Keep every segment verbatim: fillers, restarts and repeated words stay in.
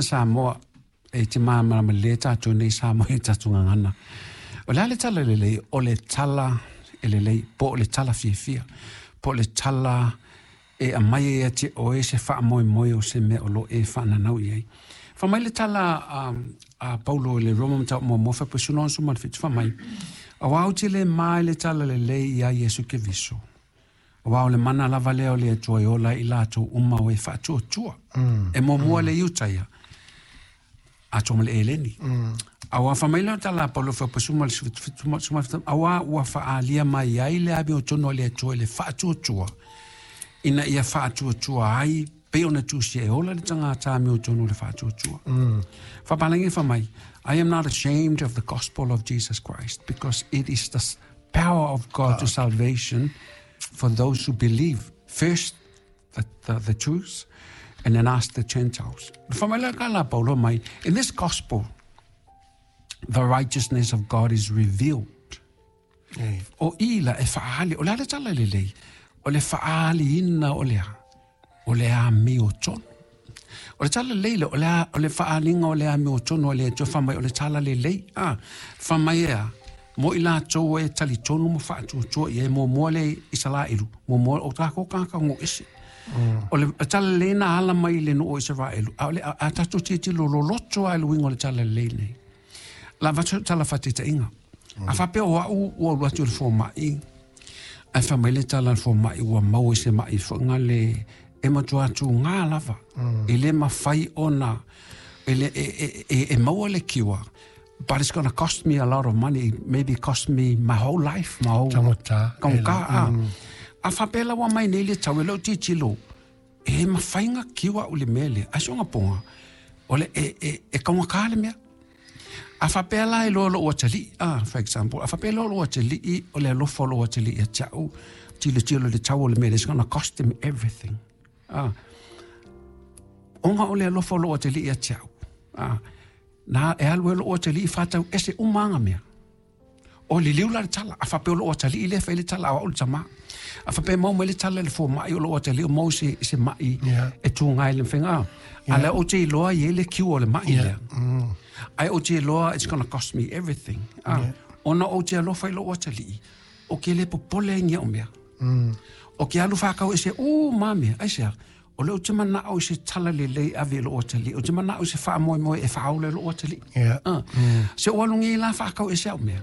Samoa e te māmarama le tātou nei Samoa e tātou ngangana. O le a le tala lelei, o le tala e lelei, po o le tala fiafia, po o le tala e aumai ai ia te oe se faamoemoe o se mea o lo e faananau i ai. Fa mai le tala a, a Paulo i le Roma mataupu muamua faapuaisuga onosefulu ma le fitu fa mai. Auā ou te le ma i le tala lelei ia Iesu Keriso. Auā o le mana lava lea o le Atua e ola ai i latou uma o e faatuatua. Mm. E muamua mm. le Iutaia, atoa ma le Eleni. Mm. Auā fa mai le tala a Paulo faapuaisuga ma le fitu, auā ua faaalia mai ai le amiotonu a le Atua i le faatuatua, ina ia faatuatua ai pei ona tusia e ola le tagata amiotonu o le faatuatua. Mm. Faapalagi fa mai, I am not ashamed of the gospel of Jesus Christ because it is the power of God to salvation for those who believe. First the, the, the Jews and then us the Gentiles. Fa mai le ka la Paulo mai, in this gospel, the righteousness of God is revealed. Ei. O i la e faali, o le a le tala lelei, o le faaliina o le a, o le amiotonu. O le tala lelei le, o le, a, o le faaliga o le amiotonu o le Atua fa mai o le tala lelei. Ah, fa mai ea, mo i latou e talitonu ma faatuatua i ai muamua le Isaraelu, muamua o tākou kākau ngo ese. O le tala lelei na ala mai i le nuu o Isaraelu, a o le a, a tatou tilotilo loloto lava i le uiga o le tala lelei nei. La avatu tala faataitaiga. A faapea o au ua alu atu i le fomai, ae fai mai le tala a le fomai ua maua i se mai foiga le e matua tugā lava. E le mafai ona e, le, e, e, e, e maua le cure, but it's gonna cost me a lot of money, maybe cost me my whole life, my whole Taugata. Taugata, a. A faapea la ua mai nei le tau e lou tilotilo, e mafai ona cure au i le mea lea, ae soga poga, o le e, e, e taugata le mea. A faapea la e loa lou atalii, ah, for example, a faapea loa lou atalii, o le alofa o lou atalii ia te au, tilotilo i le tau o le mea lea, it's gonna cost him everything. Ah, ona o le alofa o lou atalii ia te au. Ah, na e alu e lou atalii faatau ese uma aga mea. O liliu la le tala, a faapea o lou atalii lea e fai le tala, a o au le tamā. A faapea e maua mai le tala i le fomai o lou atalii o maua se, se mai Yeah. e tuga ai le mafaiga. Ah, a lea ou te iloa i ai le cure o le mai Yeah. lea. Mm. Ai ou te iloa it's gonna cost me everything. Ah, Yeah. ona ou te alofa i lou atalii, o ke le popole ai ni au mea. Mm. O ke alu whakau e se, o mame, ai sea, o le o te manao i se tala lelei ave i lou atalii, o te manao i se faamoemoe e faaola i lou atalii. Yeah. Ah. Se o alu ngi la whakau e se au mea.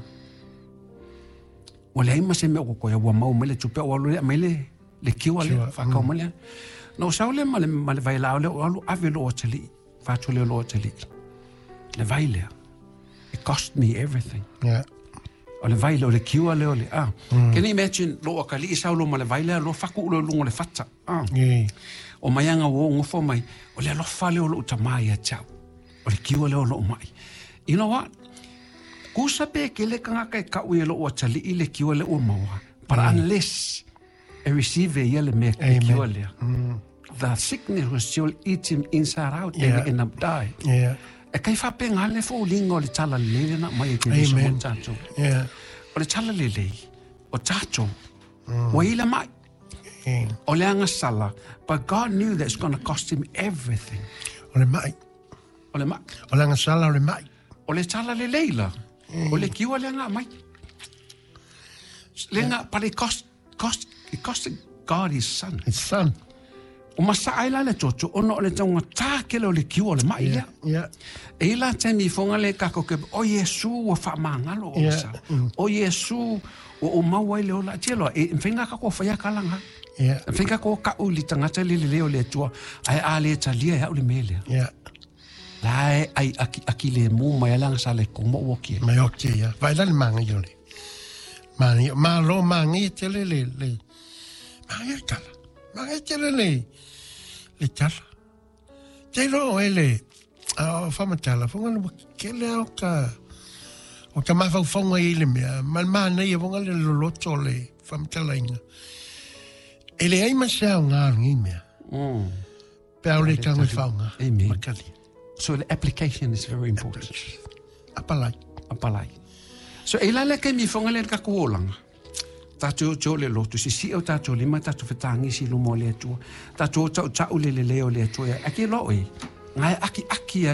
Ua leai ma se mea o kokoea, ua maua mai le tupe, o alu lea mai le, le kiwa lea, Kiwa, whakau mai lea. Na o sau lea ma le, ma le vailao lea, o alu ave lou atalii, whātu lea lou atalii. Le vai lea. It cost me everything. Yeah. O le vai lea, o le kiwa lea o le, ah. Can you imagine, lou akalii sau lo ma le vai lea, lo faku ulo lunga o le fata. Ah. Yeah. O mai anga o ngofo mai, o le alofa lea o lou tamā ia te au. O le kiwa lea o lou mai. You know what? Kusa pe ke le kangaka e kau i lou atalii le kiwa lea ua maua. But unless e receive ia le mea le Amen. kiwa lea, the sickness will still eat him inside out and Yeah. he end up die. Yeah. E kai whapenga le fōlinga o le tala lelei lena mai e Keriso mo Amen. tātou. Yeah. O le tala lelei, o tātou, ua ila mai. Yeah. O le agasala, but God knew that it's gonna cost him everything. O le mai. O le mai. O le agasala o le mai. O le tala lelei la. O le kiwa le anga mai. Le nga, but it cost, cost, it cost God his son. His son. O masa ai la le toto, ona o le taunga tākele o le kiwa o le mai lea. Yeah. E ila taimi i fonga le kako ke, o Iesu ua whaamangalo o Yeah. sa. O Iesu ua o maua i le ola. Tia loa, e mwhenga kako whaia kalanga. Yeah. Mwhenga ko ka uli tangata le le leo le atua. Ai a le talia e au le melea. Yeah. La e ai aki, aki le mu mai alanga sa le komo uoki e. Mai oki ia. Vai la le manga i ole. Manga, ma lo manga i tele le, le. Manga i tala. Manga i tele le, le tala. Te lo e le, a o whamatala, whanga le kele au ka, o ka mawhauwhaunga i le mea, ma le mana ia whanga le loloto le whamatala inga. E le ai ma se au ngā ngi mea. Mm. Pe au le tango i whaunga. Amen. Makali. So the application is very important. Apalai. Apalai. So e la le ke mi fonga le ka kuolanga. Tātou tō le lotu, si si o tātou lima, tātou whatangi si lumo le atua. Tātou tau tau le le leo le atua. A ke lo e. Ngai aki aki